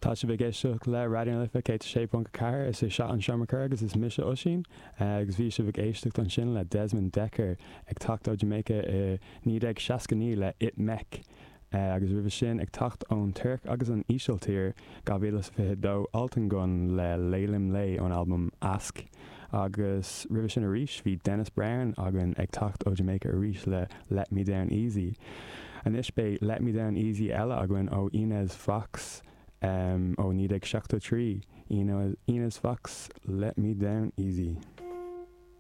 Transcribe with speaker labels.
Speaker 1: Tá sibh ag éisteacht le Raidió na Life 106.4, is é seo an Seomra Comhrá agus is mise Oisín agus bhí sibh ag éisteacht ansin le Desmond Dekker ag teacht ó Jamaica i 1969 le It Mek agus roimhe sin ag teacht ón Tuirc agus an Ísiltír 2022 Altın Gün le Leylim Ley ón albam Aşk agus roimhe sin arís bhí Dennis Brown againn ag teacht ó Jamaica arís le Let Me Down Easy. Anois beidh Let Me Down Easy eile againn ó Inez Foxx ó 1973, Inez Foxx, Let Me Down Easy.